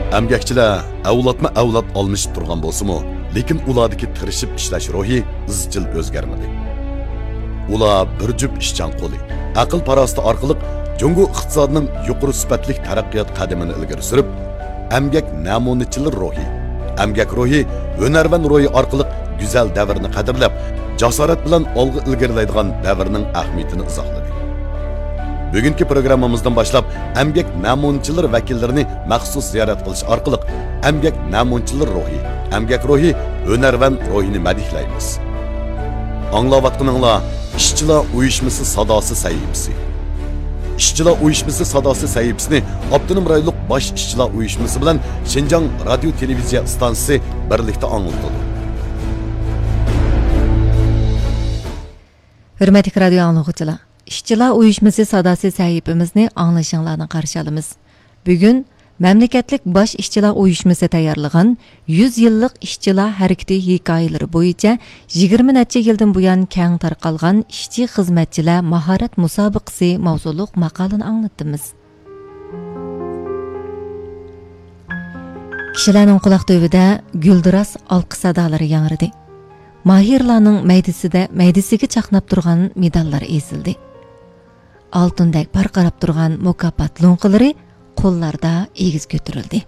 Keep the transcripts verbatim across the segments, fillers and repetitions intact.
ئەمگەكچىلەر ئەۋلادمۇ ئەۋلاد ئالمىشىپ تۇرغان بولسىمۇ، لېكىن ئۇلاردىكى تىرىشىپ ئىشلەش روھى ئىزچىل ئۆزگەرمىدى. ئۇلار بىر جۈپ ئىشچان قولى، ئەقىل-پاراسىتى ئارقىلىق جۇڭگو ئىقتىسادىنىڭ يۇقىرى سۈپەتلىك تەرەققىيات قەدىمىنى ئىلگىرى سۈرۈپ، ئەمگەك نەمۇنىچىلىرى روھى، ئەمگەك روھى، ھۈنەرۋەن روھى ئارقىلىق گۈزەل دەۋرنى قەدىرلەپ، جاسارەت بىلەن ئالغا ئىلگىرىلەيدىغان دەۋرنىڭ ئەھمىيىتىنى ئىزاھلىدى. بۈگۈنكى پروگراممىمىزدىن باشلاپ ئەمگەك نەمۇنىچىلىرى ۋەكىللىرىنى مەخسۇس زىيارەت قىلىش ئارقىلىق ئەمگەك نەمۇنىچىلىرى روھى، ئەمگەك روھى، ھۈنەرۋەن روھىنى مەدھىيلەيمىز. ئاڭلاۋاتقىنىڭلار ئىشچىلار ئۇيۇشمىسى ساداسى سەھىپىسى. ئىشچىلار ئۇيۇشمىسى ساداسى سەھىپىسىنى ئاپتونوم رايونلۇق باش ئىشچىلار ئۇيۇشمىسى بىلەن شىنجاڭ رادىيو تېلېۋىزىيە ئىستانسىسى بىرلىكتە ئاڭلىتىدۇ. ھۆرمەتلىك رادىيو ئاڭلىغۇچىلار، ئىشچىلار ئۇيۇشمىسى ساداسى سەھىپىمىزنى ئاڭلىشىڭلارنى قارشى ئالىمىز. بۈگۈن مەملىكەتلىك باش ئىشچىلار ئۇيۇشمىسى تەييارلىغان يۈز يىللىق ئىشچىلار ھەرىكىتى ھېكايىلىرى بويىچە يىگىرمە نەچچە يىلدىن بۇيان كەڭ تارقالغان ئىشچى خىزمەتچىلەر ماھارەت مۇسابىقىسى ماۋزۇلۇق ماقالىنى ئاڭلىتىمىز. كىشىلەرنىڭ قۇلاق تۈۋىدە گۈلدۈراس ئالقىش سادالىرى ياڭرىدى. ماھىرلارنىڭ مەيدىسىدە، مەيدىسىگە چاقناپ تۇرغان مېداللار ئېزىلدى. ئالتۇندەك پارقىراپ تۇرغان مۇكاپات لوڭقىلىرى قوللاردا ئېگىز كۆتۈرۈلدى.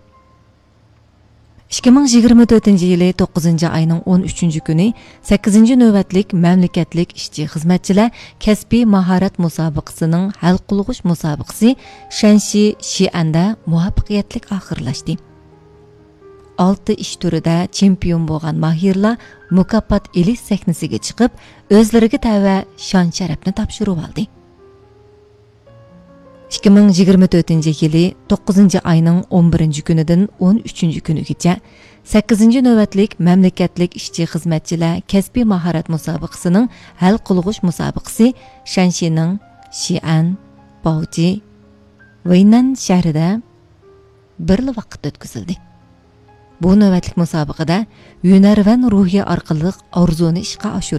ئىككى مىڭ يىگىرمە تۆتىنچى يىلى توققۇزىنچى ئاينىڭ ئون ئۈچىنچى كۈنى سەككىزىنچى نۆۋەتلىك مەملىكەتلىك ئىشچى خىزمەتچىلەر كەسپىي ماھارەت مۇسابىقىسىنىڭ ھەل قىلغۇچ مۇسابىقىسى شەنشى شىئەندە مۇۋەپپەقىيەتلىك ئاخىرلاشتى. ئالتە ئىش تۈرىدە چېمپىيون بولغان ماھىرلار مۇكاپات ئېلىش سەھنىسىگە چىقىپ، ئۆزلىرىگە تەۋە شان-شەرەپنى تاپشۇرۇۋالدى. ئىككى مىڭ يىگىرمە تۆتىنچى يىلى توققۇزىنچى ئاينىڭ ئون بىرىنچى كۈنىدىن ئون ئۈچىنچى كۈنىگىچە سەككىزىنچى نۆۋەتلىك مەملىكەتلىك ئىشچى خىزمەتچىلەر كەسپىي ماھارەت مۇسابىقىسىنىڭ ھەل قىلغۇچ مۇسابىقىسى شەنشىنىڭ شىئەن، باۋجى، ۋېينەن شەھىرىدە بىرلا ۋاقىتتا ئۆتكۈزۈلدى. بۇ نۆۋەتلىك مۇسابىقىدە ھۈنەرۋەن روھى ئارقىلىق ئارزۇنى ئىشقا ئاشۇرۇش